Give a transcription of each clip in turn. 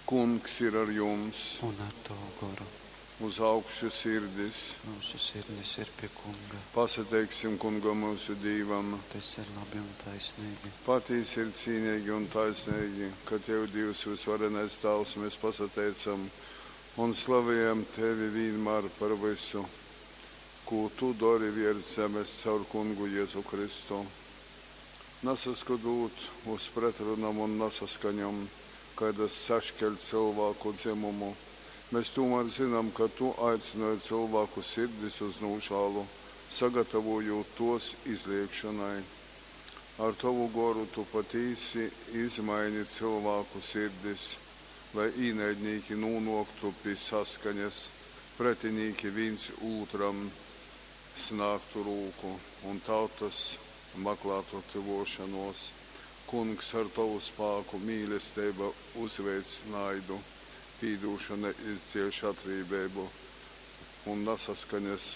Kungs ir ar jums! Un ar tovu goru. Uz augšu sirdis! Myusu sirdis ir pie Kunga. Pasateiksim Kungam myusu Dīvam! Tas ir labi un taisnīgi. Patīsi ir cīnīgi un taisnīgi, ka Tev, Dīvs, Vysvarenais Tāvs, mēs pasateicam un slavejam Tevi vīnmār par vysu, kū Tu dori viers zemes caur Kungu Jezu Kristu. Nasaskotūt uz pretrunom un nasaskaņom, kaidas saškeļ cylvāku dzymumu, mes tūmār zynam, ka Tu aicynoj cylvāku sirdis uz nūžālu, sagatavojūt tōs izleigšonai. Ar Tovu Goru Tu patīsi izmaini cylvāku sirdis, lai īnaidnīki nūnōktu pi saskaņas, pretinīki vīns ūtram snāgtu rūku un tautas maklātu tyvōšonōs. Kungs, ar Tovu spāku mīlesteiba uzveic naidu, pīdūšona izdzieš atrībeibu un nasaskaņas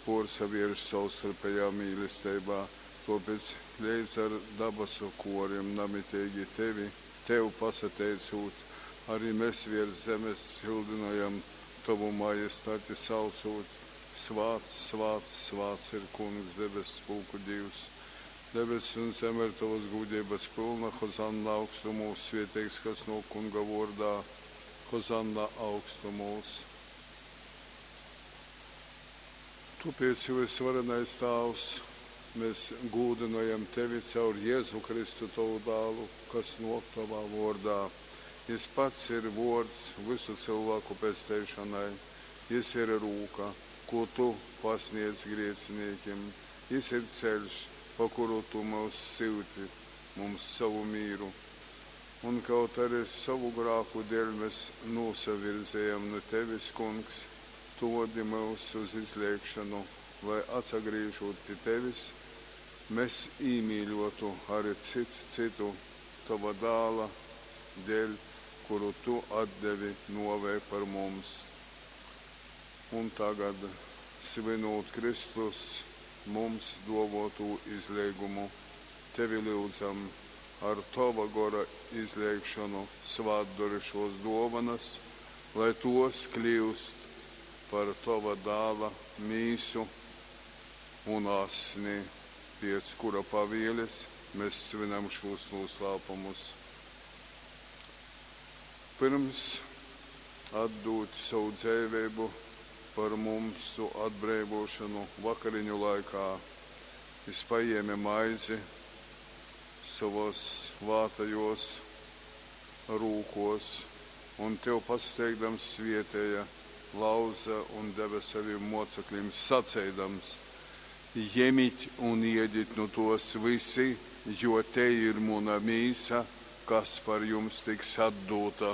pōrsavierš sovstarpejā mīlesteibā. Tōpēc, leidz ar dabasu kōrim namiteigi Tevi, Tev pasateicūt, ari mes viers zemes cyldynojam Tovu majestati, saucūt, Svāts, svāts, svāts ir Kungs, debesspulku Dīvs! Debess un zeme ir Tovas gūdeibas pylna. Hozanna augstumūs, svieteigs, kas nōk Kunga vōrdā. Hozanna augstumūs. Tōpēc, Vysvarenais Tāvs, mes gūdynojam Tevi caur Jezu Kristu, Tovu Dālu, kas nōk Tovā vōrdā. Jys pats ir vōrds vysu cylvāku pesteišonai. Jys ir rūka, kū Tu pasnēdz grēcinīkim. Jys ir ceļš, pa kuru Tu myus syuti mums sovu mīru. Un kaut ari sovu grāku dēļ mes nūsavirzejam nu Tevis, Kungs, Tu vodi myus uz izleigšonu, lai, atsagrīžūt pi Tevis, mes īmīļōtu ari cyts cytu Tova Dāla dēļ, kuru Tu atdevi nōvei par mums. Un tagad, svynūt Kristus mums dōvōtū izleigumu, Tevi lyudzam, ar Tova Gora izleigšonu svātdori šōs dōvonas, lai tōs kliust par Tova Dāla Mīsu un Asni, pēc kura pavieles mes svynam šūs nūslāpumus. Pyrms atdūt sovu dzeiveibu par mumsu atbreivōšonu, vakariņu laikā Jys pajēme maizi sovōs svātajōs rūkōs un, Tev pasateikdams, svētēja, lauze un deve sovim mōceklim, saceidams, Jemit un iedit nu tōs vysi, jo tei ir muna Mīsa, kas par jums tiks atdūta.